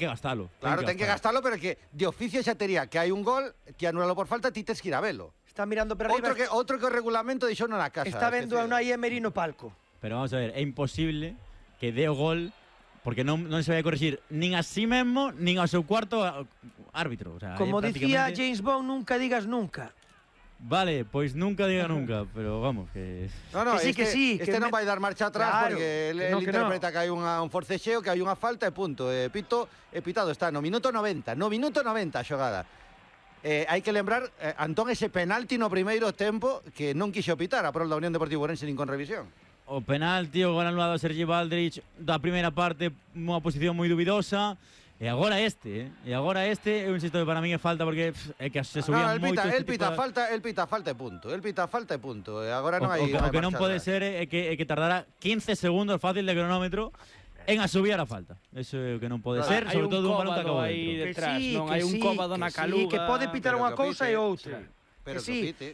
que gastalo. Claro, ten que gastalo, pero que de oficio xa tería que hai un gol, que anulalo por falta, ti tes que ir a velo. Está mirando para arriba. Outro que o regulamento dixo na casa. Está vendo a Unai Emery no palco. Pero vamos a ver, é imposible que dé o gol porque non se vai a corregir nin a sí mesmo, nin ao seu cuarto árbitro. O sea, como dicía James Bond, nunca digas nunca. Vale, pois nunca diga nunca, pero vamos, que... No, que sí, este non vai dar marcha atrás, claro, porque ele interpreta que hai un forcexeo, que hai unha falta e punto. Pitado está no minuto 90 a xogada. Hai que lembrar, Antón, ese penalti no primeiro tempo que non quixo pitar a prol da Unión Deportiva Ourense nin con revisión. O penalti, o gol anulado a Sergi Valdrich da primeira parte, unha posición moi dubidosa. E agora este, eu insisto que para mí é falta porque é que se subían moito. El pita falta e punto. E agora non hai. O que non pode ser é que tardara 15 segundos fácil de cronómetro en asubiar a falta. Eso é o que non pode ser, sobre todo un balón que acabou aí detrás, non hai un cóbado na caluga. Que pode pitar unha cousa e outra. Pero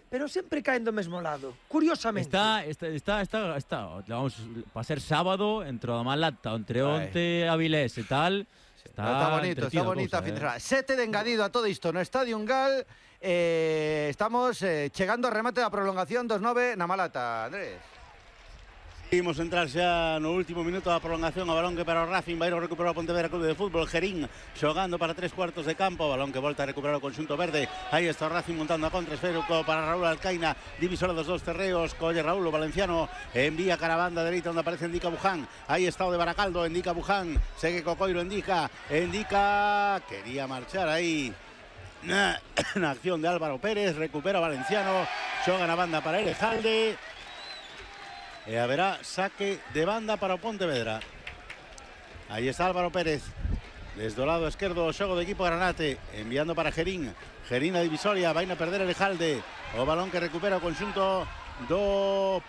pero sempre caen do mesmo lado. Curiosamente. Está, vamos, para ser sábado, entre o Malata, entre onte Avilés e tal. Está bonito a fin de semana. 7 de engadido a todo isto no Estadio Ungal. Estamos chegando ao remate da prolongación dos 9 na Malata, Andrés. Imos entrar xa no último minuto da prolongación. O balón que para o Racing vai a recuperar o Pontevedra Clube de Fútbol. Gerín xogando para 3 cuartos de campo. O balón que volta a recuperar o conxunto verde. Aí está o Racing montando a contra. Esférico para Raúl Alcaina, divisor dos dos terreos. Colle Raúl, o valenciano envía cara a banda dereita onde aparece Endica Buján. Aí está o de Baracaldo, Endica Buján. Segue Cocoiro, Endica quería marchar aí na acción de Álvaro Pérez. Recupera o valenciano, xoga na banda para Elejalde. E haberá saque de banda para o Pontevedra. Aí está Álvaro Pérez desde o lado esquerdo, o xogo do equipo granate, enviando para Gerín a divisoria, vai a perder Elejalde. O balón que recupera o conxunto do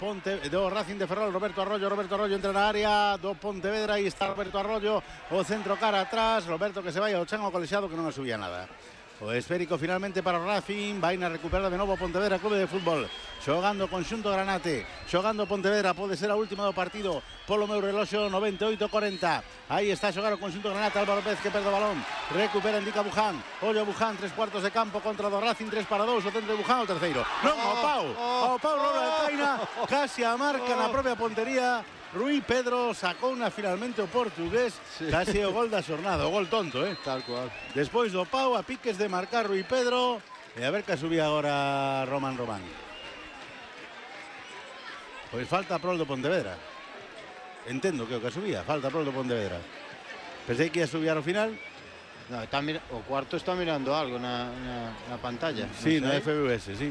Racing de Ferrol. Roberto Arroyo entra na área do Pontevedra. Aí está Roberto Arroyo, o centro cara atrás. Roberto que se vai ao chan ao colexiado, que non asubía nada. O esférico finalmente para o Racing. Vai a recuperar de novo o Pontevedra Clube de Fútbol. Xogando o conxunto granate, xogando Pontevedra, pode ser a última do partido polo meu reloxo. 98-40. Aí está a xogar o conxunto granate. Álvaro Pérez que perde o balón, recupera Endica Buján. Ollo Buján, 3 cuartos de campo contra do Racing, 3-2, o centro de Buján, o terceiro. Non, ao pau Raúl Alcaina, casi a marca na propia pontería. Rui Pedro sacou finalmente o portugués, casi o gol da xornada, o gol tonto, tal cual. Despois do pau, a piques de marcar Rui Pedro, e a ver que subía agora Román. Pois falta a prol do Pontevedra. Entendo que o que subía, falta a prol do Pontevedra. Pensei que ia subir ao final. No, o cuarto está mirando algo na pantalla. Sí, na FBS, sí.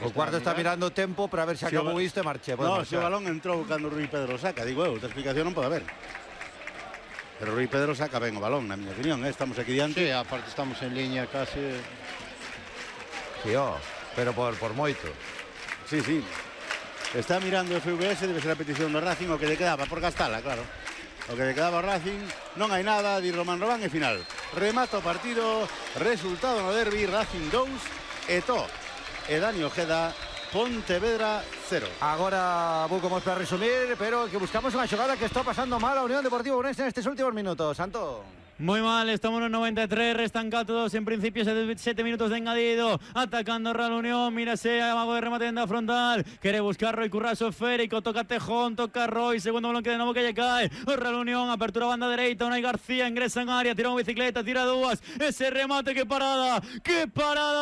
O cuarto está mirando o tempo para ver se acabou isto e marche. No, se o balón entrou cando Rui Pedro saca, digo eu, outra explicación non pode haber. Pero Rui Pedro saca ben o balón, na miña opinión, estamos aquí diante. Sí, aparte estamos en línea casi. Sí, pero por moito. Sí. Está mirando o FVS, debe ser a petición do Racing, o que lle quedaba por gastala, claro. O que lle quedaba ao Racing, non hai nada, di Román e final. Remata o partido, resultado no derbi, Racing 2, e Dani Ojeda, Pontevedra 0. Agora vamos para resumir, pero que buscamos unha xogada que está pasando mal a Unión Deportiva Ourense nestes últimos minutos. Santo. Muy mal, estamos en 93, restan 4-2 en principio, 7 minutos de engadido, atacando Real Unión, mírase, amago de remate en la frontal, quiere buscar Roy Curraso esférico, toca Tejón, toca Roy, segundo balón que de nuevo que lle cae, Real Unión, apertura banda dereita, Unai García ingresa en área, tira unha bicicleta, tira dúas, ese remate, qué parada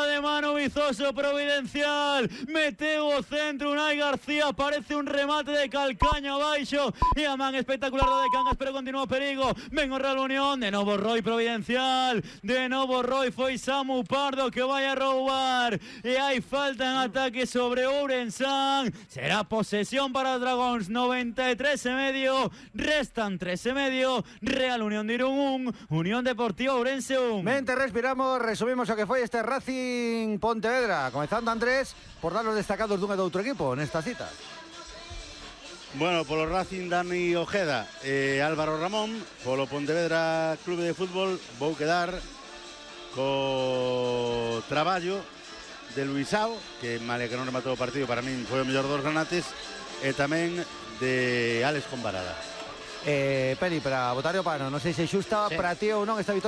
de mano Vizoso, providencial, meteu o centro, Unai García, parece un remate de calcaño abaixo, e a man espectacular do de Cangas, pero continúa o perigo, ven o Real Unión, de novo Roy providencial, de novo Roy, foi Samu Pardo que vai a roubar e hai falta en ataque sobre Ourensán, será posesión para os Dragóns, 93,5, restan 3,5, Real Unión de Irún 1, Unión Deportiva Ourense 1. Mente, respiramos, resumimos o que foi este Racing Pontevedra, comezando Andrés por dar os destacados dun e do outro equipo nesta cita. Bueno, polo Racing Dani Ojeda e Álvaro Ramón, polo Pontevedra Clube de Fútbol vou quedar co traballo de Luisao, que male que non rematou o partido, para min foi o mellor dos granates, e tamén de Alex Combarada. Peri, para botar o pano, non sei se xusta, sí, para ti ou non esta vitória